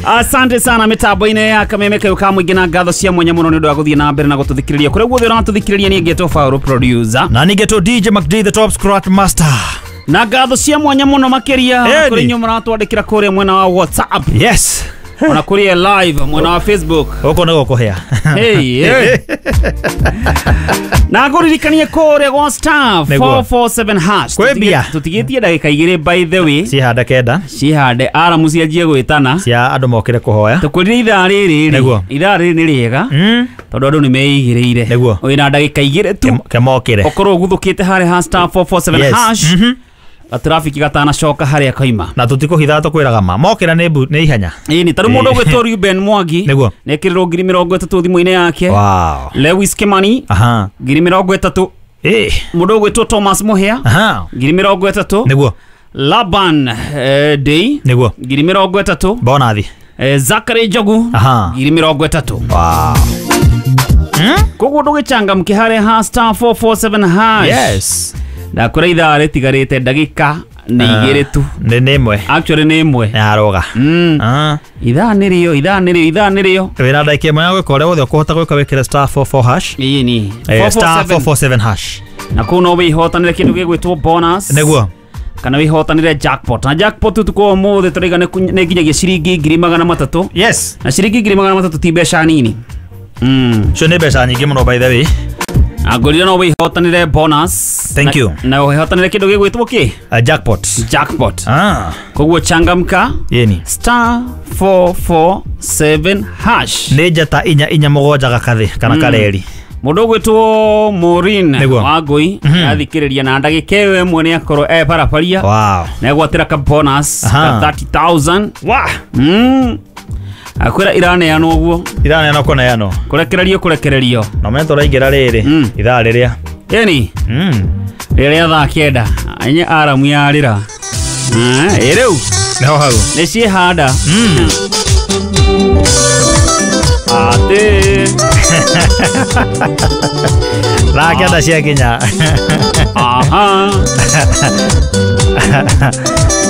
Asante sana mitambo-inĩ ya Kameme kayo ka mũingĩ na ngatho cia mwanya mũno nĩ ũndũ wa gũthiĩ na mbere na gũtũthikĩrĩria kũrĩa guothe ũratũthikĩrĩria. Niĩ ngetwo Faũrũ producer. Na ningĩ DJ McD, the top scratch master. Na ngatho cia mwanya mũno makĩria Ĩni. kũrĩ inyuĩ mũratwandĩkĩra kũrĩa mwena wa WhatsApp, Yes. ona kũrĩa live mwena wa Facebook. Gũkũ nĩ gũkũhĩa. Hey, hey. Na ngũririkanie kũrĩa gwa star Nĩguo. 447 hash. Kwĩ mbia. Tũtigĩtie ndagĩka 2, by the way. Cihanda 9. Cihande aramu cianjie gwĩtana. Cia andũ mokĩre kũhoya. Tũkwĩrire ithaa rĩrĩ rĩ, Nĩguo. ithaa rĩrĩ nĩ rĩega tondũ andũ nĩ meigĩrĩire. Nĩguo. Wĩna ndagĩka 2 tu. Kemokĩre. Ũkorwo ũguthũkĩte harĩa ha star 447 hash, gatrafiki gatanacoka harĩa kaima. Na tũtikũhitha, tũkwĩraga ma mokĩra nĩ nĩ ihenya. Ĩni tarĩu mũndũ ũgwĩtwo Ruben Mwangi Nĩguo. nĩekĩrĩrwo 30,000 thimũ-inĩ yake. Wow. Lewis Kimani 30,000. Mũndũ ũgwĩtwo Thomas Muhia 30,000. Nĩguo. Laban Day Nĩguo. 30,000. Bonathi. Zachary Njogu 30,000. Wow. Koguo ndũgĩcangamke harĩa ha star 447 hash. Yes. Ndakwĩra ithaa rĩtigarĩte ndagĩka nĩ 2 tu. Nĩ 1. Actually nĩ 1. Nĩ aroga. Ithaa nĩrĩo, ithaa nĩrĩo, ithaa nĩrĩo. Wĩna ndagĩka 1 ya gwĩka ũrĩa wothe ũkũhota gwĩka, wĩkĩre star 44 hash. Ĩni. Star 447 hash. Na kũu no wĩhotanĩre kĩndũ gĩgwĩtwo bonus. Nĩguo. Kana wĩhotanĩre jackpot, na jackpot ũtukũ wa ũmũthĩ tũraiga nĩ nginyagia ciringi 300,000. Yes. Na ciringi 300,000 ti mbeca nini. Cio nĩ mbeca nyingĩ mũno, by the way. Angorire no wĩhotanĩre bonus. Thank you. Na wĩhotanĩre kĩndũ gĩgwĩtwo kĩ? Jackpot. Jackpot. Koguo changamka. Yeni. Star 447 hash. Nĩ njata 447 gakathĩ kana kareri. Mũndũ ũgwĩtwo Maureen Nĩguo. Wangũi athikĩrĩria na ndagĩka ĩyo 1 nĩ akorwo e barabaria Wow. na egwatĩra ka bonus ka 30,000. Wa. Akwĩra iraneanwo ũguo. Iraneanwo kũneanwo. Kũrekererio, kũrekererio. Na ũmenye tũraingĩra rĩrĩ ithaa rĩrĩa. Ĩni. Rĩrĩa thaa 9 enye aramu yarĩra. Ĩ rĩu. Nĩho hau. Nĩ ciĩhanda. Atĩ. Thaa 9 ciakinya. Aha.